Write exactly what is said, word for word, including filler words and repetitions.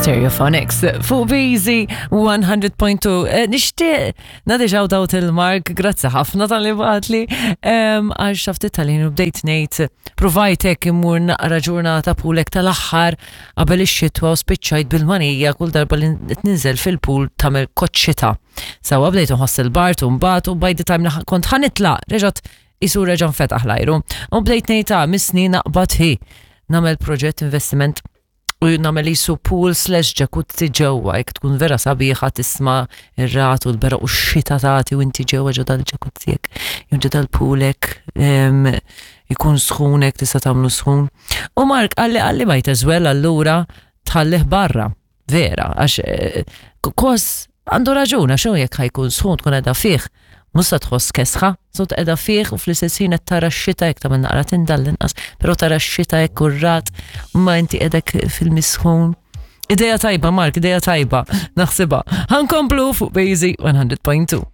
Stereophonics fuq B Z one hundred point two. Eh, Nixtieq nagħti shout out lil Mark, grazzi ħafna talli bagħatli, għax xaftit tal-ħin u bdejt ngħid provajtek immur naqra ġurnata pool hekk tal-aħħar qabel ix-xitwa u spiċċajt bil-manija kull darba li ninżel fil-pool tagħmel koċċita. Sawa bdejt nħoss il-bard u mbagħad u by the time li kont ħa nitlaq reġgħet isu reġa' nfetaħ l-ajru. U bdejt ngħid, "Ah, missni naqbad hi nagħmel proġett investiment u nagħmel jisu pool slash jacuzzi ġewwa, jekk tkun vera sabiħa tisma' ir-ragħad u l-beraq u x-xita tagħti u inti ġewwa ġo dal-jacuzzi hekk, jew ġo dal-pool hekk, em, ikun sħun hekk, tista' tagħmlu sħun." U Mark qalli qalli might as well allura tħallih barra. Vera, għax eh, kos għandu raġun, għax hu jekk ħa jkun sħun tkun qiegħda fih, mhux se tħoss kesħa, so qiegħda fih u fl-istess ħin qed tara x-xita jekk tagħmel naqra tinda l-inqas, però tara x-xita hekk u r-ragħad ma inti qiegħdek fil-misħun. Ideja tajba, Mark, ideja tajba, naħsibha. Ħa nkomplu fuq B Z one hundred point two.